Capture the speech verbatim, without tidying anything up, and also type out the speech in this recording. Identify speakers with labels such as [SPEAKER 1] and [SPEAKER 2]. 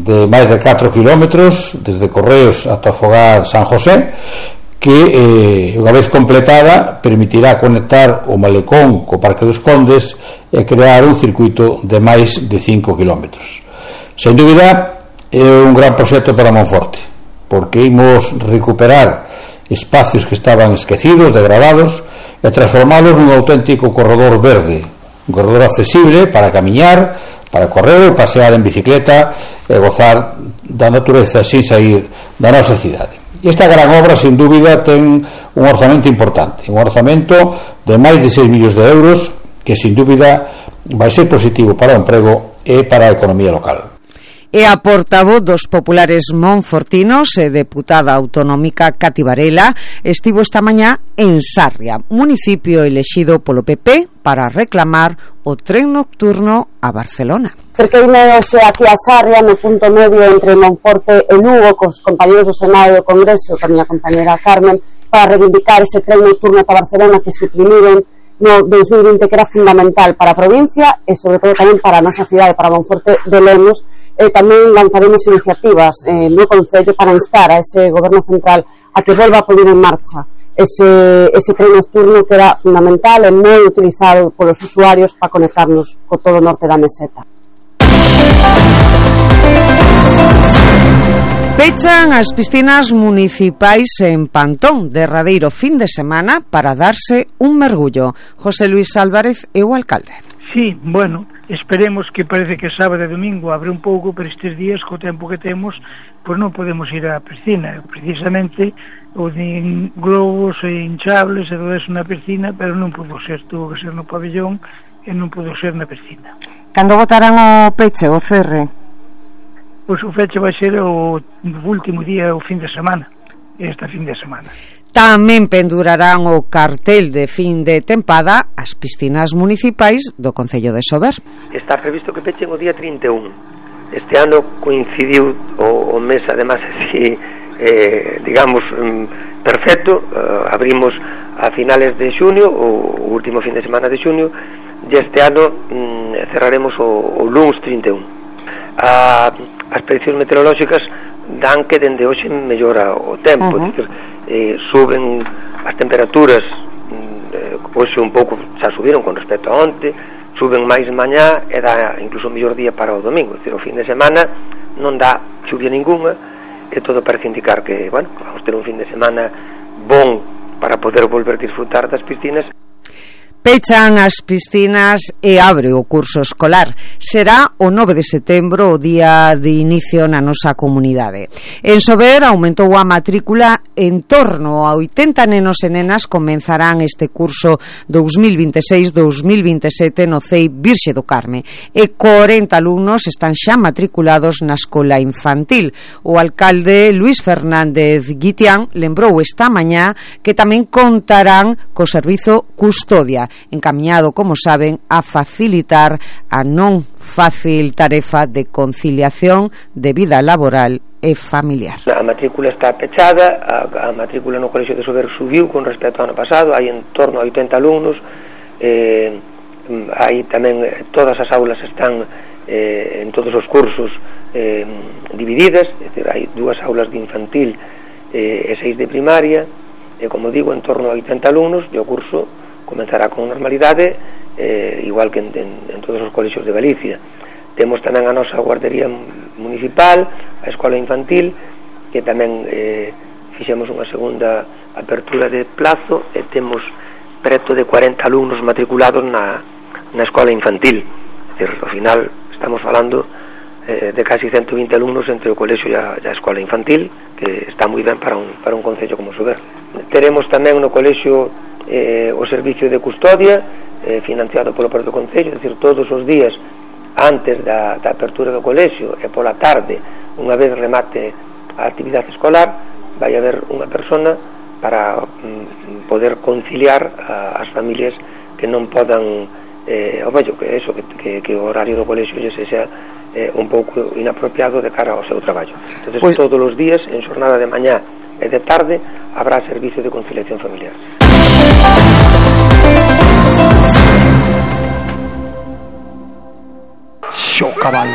[SPEAKER 1] de máis de catro kilómetros desde Correos ata o fogar San José, que eh, unha vez completada permitirá conectar o malecón co Parque dos Condes e crear un circuito de máis de cinco kilómetros. Sen dúbida é un gran proxecto para Monforte, porque imos recuperar espacios que estaban esquecidos, degradados, e transformalos nun auténtico corredor verde, un corredor accesible para camiñar, para correr, pasear en bicicleta e gozar da natureza sin sair da nosa cidade. E esta gran obra, sin dúbida, ten un orzamento importante, un orzamento de máis de seis millóns de euros, que sin dúbida vai ser positivo para o emprego e para a economía local.
[SPEAKER 2] E a portavoz dos populares monfortinos e deputada autonómica Cati Varela estivo esta mañá en Sarria, municipio elexido polo P P para reclamar o tren nocturno a Barcelona.
[SPEAKER 3] Cerqueinos aquí a Sarria, no punto medio entre Monforte e Lugo, cos compañeros do Senado e do Congreso, con a miña compañera Carmen, para reivindicar ese tren nocturno ata Barcelona que suprimiron no dos mil vinte, que era fundamental para a provincia e sobre todo tamén para a nosa cidade, para Monforte de Lemos. E tamén lanzaremos iniciativas eh, no Concello para instar a ese Goberno Central a que volva a poner en marcha ese, ese tren nocturno que era fundamental e moi utilizado polos usuarios para conectarnos co todo o norte da meseta.
[SPEAKER 2] Pechan as piscinas municipais en Pantón, derradeiro fin de semana para darse un mergullo. José Luis Álvarez é o alcalde.
[SPEAKER 4] Sí, bueno, esperemos que parece que sábado e domingo abre un pouco, pero estes días, co tempo que temos, pois non podemos ir á piscina. Precisamente, o de globos e hinchables e todo eso na piscina, pero non pudo ser, tuvo que ser no pabellón e non pudo ser na piscina.
[SPEAKER 2] Cando botarán o peche, o cerre?
[SPEAKER 4] Pois o feche vai ser o último día, o fin de semana, esta fin de semana.
[SPEAKER 2] Tamén pendurarán o cartel de fin de tempada as piscinas municipais do Concello de Sober.
[SPEAKER 5] Está previsto que pechen o día trinta e un. Este ano coincidiu o, o mes, además, así, eh, digamos, mm, perfecto. Uh, abrimos a finales de xunio, o, o último fin de semana de xunio, e este ano mm, cerraremos o, o luns trinta e un. A, as prediccións meteorolóxicas dan que dende hoxe mellora o tempo, uh-huh. Dicir, eh, suben as temperaturas, eh, hoxe un pouco xa subiron con respecto a onte, suben máis mañá e dá incluso o mellor día para o domingo. Dicir, o fin de semana non dá chuvia ninguna e todo parece indicar que, bueno, vamos ter un fin de semana bon para poder volver a disfrutar das piscinas.
[SPEAKER 2] Pechan as piscinas e abre o curso escolar. Será o nove de setembro o día de inicio na nosa comunidade. En Sober aumentou a matrícula, en torno a oitenta nenos e nenas comenzarán este curso dous mil vinte e seis dous mil vinte e sete no C E I Virxe do Carme e corenta alumnos están xa matriculados na escola infantil. O alcalde Luís Fernández Guitián lembrou esta mañá que tamén contarán co servizo custodia, encaminhado, como saben, a facilitar a non fácil tarefa de conciliación de vida laboral e familiar.
[SPEAKER 5] A matrícula está pechada, a, a matrícula no Colexio de Sober subiu con respecto ao ano pasado, hai en torno a oitenta alumnos, eh, hai tamén, todas as aulas están eh, en todos os cursos eh, divididas, é dicir, hai dúas aulas de infantil eh, e seis de primaria, e como digo, en torno a oitenta alumnos, e o curso comenzará con normalidade, eh, igual que en, en, en todos os colexios de Galicia. Temos tamén a nosa guardería municipal, a escola infantil, que tamén eh, fixemos unha segunda apertura de plazo e temos preto de cuarenta alumnos matriculados na, na escola infantil. É dicir, ao final estamos falando eh, de casi ciento vinte alumnos entre o colexio e a, e a escola infantil, que está moi ben para un, para un concello como Sober. Teremos tamén no colexio eh, o servicio de custodia eh, financiado polo propio concello, é dicir, todos os días antes da, da apertura do colexio e pola tarde, unha vez remate a actividade escolar, vai haber unha persona para mm, poder conciliar a, as familias que non podan eh, o bello, que eso, que, que, que o horario do colexio lle sexa eh, un pouco inapropiado de cara ao seu traballo. Entonces, pues, todos os días, en xornada de mañá e de tarde, habrá servicio de conciliación familiar.
[SPEAKER 6] Xo cabalo.